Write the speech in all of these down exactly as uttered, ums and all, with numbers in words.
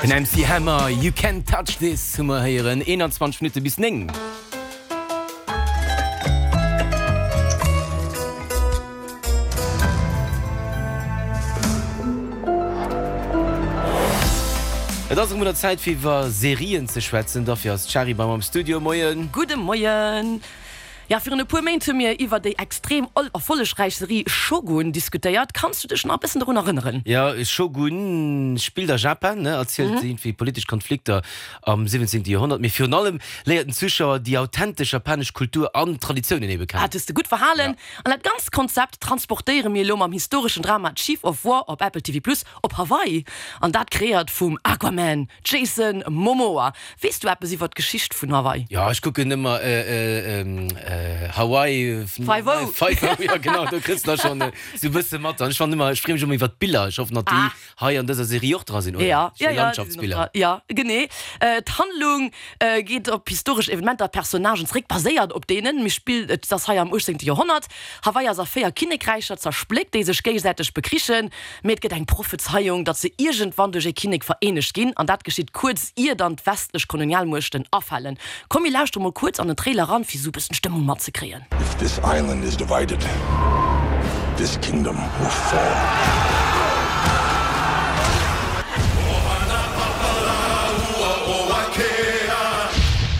Den M C Hammer, You Can't Touch This, hu mer héieren. eenanzwanzeg Minutte bis néng. Et ass erëm un der Zäit fir iwwer Serien ze schwätzen. Dofir ass d'Shari bei mer am Studio. Moien. Gudde Moien. Ja, virun e puer Méint hu mir iwwer déi extrem erfollegräich Serie Shogun diskutéiert. Kanns du dech nach e bëssen dorun erënneren? Ja, Shogun spillt a Japan, ne, erzielt iergendwéi politesch Konflikter am siwwenzéngte Joerhonnert, mee virun allem léiert den Zuschauer déi authentesch japanesch Kultur an Traditiounen ebe kennen. Dat hues de gutt verhalen. An dat ganzt Konzept transportéiere mir elo mam historeschen Drama Chief of War op Apple T V Plus op Hawaii. An dat kreéiert vum Aquaman Jason Momoa. Weess du eppes iwwer d'Geschicht vun Hawaii? Jo, ech kucken ëmmer Hawaii Five-O. Five-O, jo genau, do kriss de da schonn esou e bësse mat. An ech fannen ëmmer, ech freeë mech ëmmer iwwer d'Biller. Ech hoffen, datt déi hei an dëser Serie och dra sinn, oder? Ja, Schéi ja, ja, déi sinn och Landschaftsbiller. dra. Ja, genee. D'Handlung geet op historesch Evenementer a Personnagen zeréck, baséiert op deenen. Mir spillt, et ass hei am uechtzéngte Joerhonnert. Hawaii ass a véier Kinnekräicher zerspléckt, déi sech géigesäiteg bekrichen. Mee et gëtt eng Prophezeiung, datt se iergendwann duerch ee Kinnek vereenegt ginn, an dat geschitt kuerz ier dann d'westlech Kolonialmuechten afalen. Komm mir lauschtere mol kuerz an den Trailer eran, fir esou e bëssen d'Stëmmung matzekréien. If this island is divided, this kingdom will fall.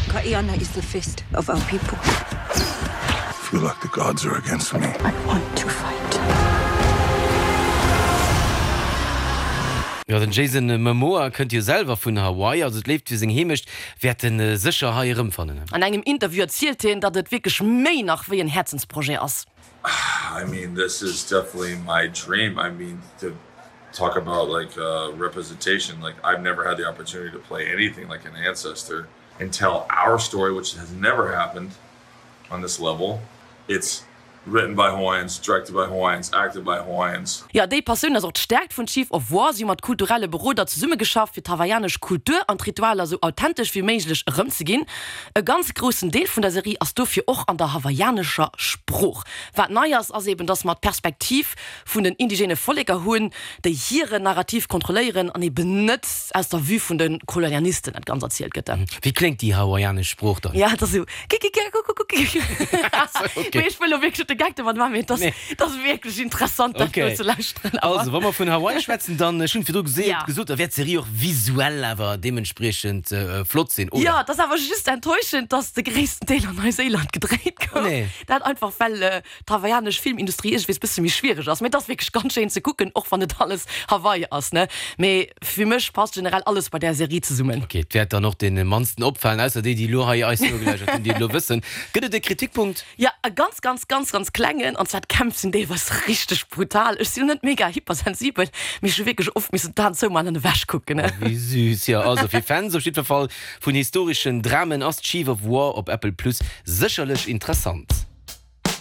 Ka'iana is the fist of our people. I feel like the gods are against me. I want to fight. Jo, den Jason Momoa kënnt jo selwer vun Hawaii, also d'Léift fir seng Heemecht wäert en sécher hei erëmfannen. An engem Interview erzielt hien, datt et wierklech méi nach wéi en Häerzensprojet ass. I mean, this is definitely my dream. I mean, to talk about like uh, representation, like I've never had the opportunity to play anything like an ancestor and tell our story, which has never happened on this level. It's written by Hawaiians, directed by Hawaiians, acted by Hawaiians. Jo, déi Passioun ass och d'Stäerkt vun Chief of War. Si hu mat kulturelle Beroder zesummegeschafft, fir d'hawaiianesch Kultur an d'Ritualer sou authentesch wéi méiglech erëmzeginn. E ganz groussen Deel vun der Serie ass dofir och an der hawaiianescher Sprooch. Wat nei ass, ass eben, dass mer d'Perspektiv vun den indigene Volleker hunn, déi hiren Narrativ kontrolléieren an eben net aus der Vue vun de Kolonialisten dat Ganzt erzielt gëtt. Wéi kléngt déi hawaiianesch Sprooch dann? Ja, et ass esou kikikikakukukukiki. Mee ech wëll elo wierklech net de Gag domat maachen, mee et ass, et ass wierklech interessant, dat do ze lauschteren. Also, wa mer vun Hawaii schwätzen, dann, ech hunn virdru geseet, gesot, da wäert d'Serie och visuell awer deementspriechend flott sinn, oder? Jo, et ass awer just enttäuschend, dass de gréissten Deel an Neuséiland gedréit gouf. Dat einfach well d'hawaiianesch Filmindustrie iergendwees bësse méi schwiereg ass. Mee et ass wierklech ganz schéin ze kucken, och wann net alles Hawaii ass, ne? Mee fir mech passt generell alles bei där Serie zesummen. Ok, et wäert dann och deene mannsten opfalen, ausser déi, déi elo hei eis nogelauschtert hunn, déi et elo wëssen. Gëtt et e Kritikpunkt? Jo, e ganz, ganz, ganz, ganz klengen, an zwar d'Kämpf sinn deelweis richteg brutal. Ech sinn net mega hypersensibel, mee ech hu wierklech oft missen d'Aen zoumaachen an ewech kucken. Oh, wéi süß. Jo, also fir Fans op jiddwer Fall vun historeschen Dramen ass Chief of War op Apple Plus sécherlech interessant.